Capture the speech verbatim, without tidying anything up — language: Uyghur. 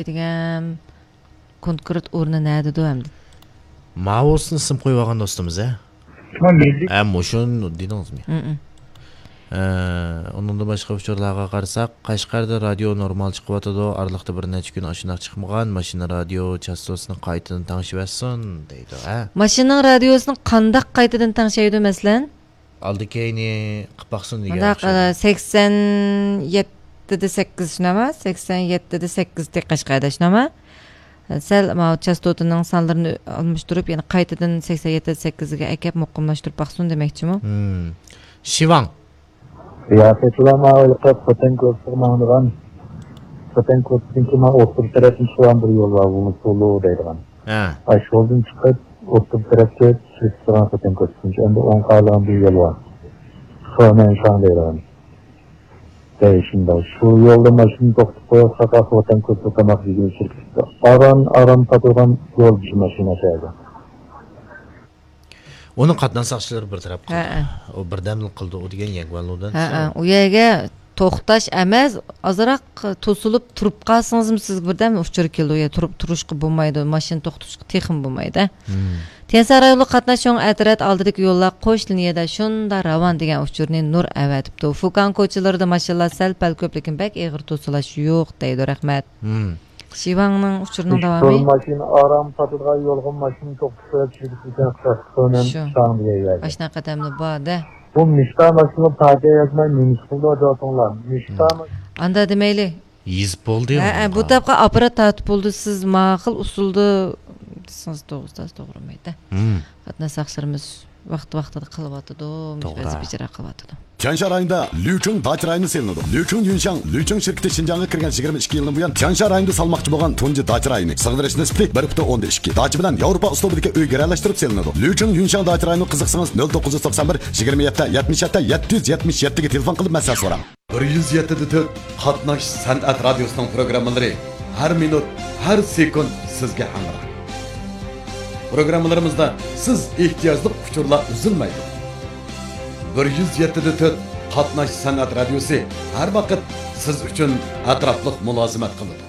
دېگەن كونكرېت ئورنى نەدىدۇ ئەمدى؟ ماۋۇسىنى ئىسىم قويۇۋالغان دوستىمىز، ھە؟ شۇڭا مىللىي ھە، مۇشۇنى دېدىڭىزمۇ؟ ھە، ھە. ئە، ئۇنىڭدىن باشقا ئۇچۇرلارغا قارىساق، قەشقەردە رادىيو نورمال چىقىۋاتىدۇ، ئارىلىقتا بىر نەچچە كۈن ئاشۇنداق چىقمىغان، ماشىنا رادىيو چاستوتىسىنى قايتىدىن تەڭشىۋەتسۇن دەيدۇ، ھە؟ ماشىنىنىڭ رادىيوسىنى قانداق قايتىدىن تەڭشەيدۇ، مەسىلەن؟ ئالدى كەينى قىلىپ باقسۇن دېگەن مۇنداق، ئوخشايدۇ. ئە، سەكسەن يەتتىدە سەككىز شۇنداقمۇ؟ سەكسەن يەتتىدە سەككىزدە قەشقەردە شۇنداقمۇ؟ سەل ماۋۇ چاستوتىنىڭ سانلىرىنى ئالماشتۇرۇپ، يەنە قايتىدىن سەكسەن يەتتە سەككىزگە ئەكەپ مۇقىملاشتۇرۇپ باقسۇن دېمەكچىمۇ؟ ھىم. شىۋاڭ. ياقى شۇلار ماۋۇ ھېلىقى خوتەن كوچىسىغا ماڭىدىغان، خوتەن كوچىسىدىن كېيىن مانا ئوتتۇرا تەرەپتىن چىقىدىغان بىر يول بار، ۋۇلۇسۇلۇ دەيدىغان. ھە. ئاشۇ يولدىن چىقىپ، ئوتتۇرا تەرەپكە چۈشۈپ تۇرغان خوتەن كوچىسىدىن ئەمدى ئوڭغا قارايدىغان بىر يول بار. خېنەنشاڭ دەيدىغان. دەي شۇنداق. شۇ يولدا ماشىنا توختىتىپ قويۇۋاتساق، خوتەن كوچىسىدا تاماق يېگىلى چىقىپ، ئاران، ئاران پاتىدىغان يول بىر ماشىنا شەھەردە. ئۇنى قاتناش ساقچىلىرى بىر تەرەپ قىلدى. ھەئە. ئۇ بىردەملىك قىلدى، ئۇ دېگەن يەنگۇەنلۇدىن. ھەئە، ئۇ يەرگە توختاش ئەمەس، ئازراق توسۇلۇپ تۇرۇپ قالسىڭىزمۇ سىزگە بىردەم ئۇچۇر كېلىدۇ. يا تۇرۇپ، تۇرۇشقا بولمايدۇ، ماشىنا توختىتىشقا تېخىمۇ بولمايدۇ. ھىم. تيەنشان رايونلۇق قاتناش چوڭ ئەترەت ئالدىدىكى يوللار قوش لىنىيەدە شۇنداق راۋان دېگەن ئۇچۇرنى نۇر ئەۋەتىپتۇ. فۇكاڭ كوچىلىرىدا ماشىنىلار سەل-پەل كۆپ، لېكىن بەك ئېغىر توسۇلاش يوق دەيدۇ. رەھمەت. ھىم. شىۋاڭنىڭ ئۇچۇرىنىڭ داۋامى. ماشىنا ئاران پاتىدىغان يولغا ماشىنا توختىتىپ قويۇپ چىقىپ كېتىدىكەن، شۇ. شاڭ دېگەن يەردە. ئاشۇنداق قەدەملەر بار-دە. بۇ مىشتا ماشىنا پارتىيە يازماي نېمە ئىش قىلىدۇ دەۋاتىڭلار؟ مىشتا ھىم. ئاندا دېمەيلى. يېزىپ بولدى ھە، ئۇنىڭغا. بۇ تاپقا ئاپپارات تارتىپ بولدى. سىز ماقۇل ئۇسۇلدا دېسىڭىز توغرا، توغرىمايدۇ. ھىم. قاتناش ساقچىلىرىمىز ۋاقتى ۋاقتىدا قىلىۋاتىدۇ، توغرا. ۋەزىپە ئىجرا قىلىۋاتىدۇ. تيەنشان رايونىدا لۈچۈڭ داچا رايونى سېلىنىدۇ. لۈچۈڭ يۈنشاڭ، لۈچۈڭ شىركىتى شىنجاڭغا كىرگەن يىگىرمە ئىككى يىلدىن بۇيان، تيەنشان رايونىدا سالماقچى بولغان تۇنجى داچا رايونى. سىغدۇرۇش نىسبىتى بىر پۈتۈن ئوندىن ئىككى. داچا بىلەن ياۋروپا ئۇسلۇبىدىكى ئۆي گىرەلەشتۈرۈپ سېلىنىدۇ. لۈچۈڭ يۈنشاڭ داچا رايونىغا قىزىقسىڭىز، نۆل توققۇز يۈز توقسان بىر، يىگىرمە يەتتە، يەتمىش يەتتە، يەتتە يۈز يەتمىش يەتتىگە تېلېفون قىلىپ مەسلىھەت سوراڭ. بىر يۈز يەتتە دە تۆت قاتناش سەنئەت رادىيوسىنىڭ پروگراممىلىرى ھەر مىنۇت، ھەر سېكۇنت سىزگە ھەمراھ. پروگراممىلىرىمىزدا سىز ئېھتىياجلىق ئۇچۇرلار ئۈزۈلمەيدۇ. بىر يۈز يەتتە دە تۆت قاتناش سەنئەت رادىيوسى ھەر ۋاقىت سىز ئۈچۈن ئەتراپلىق مۇلازىمەت قىلىدۇ.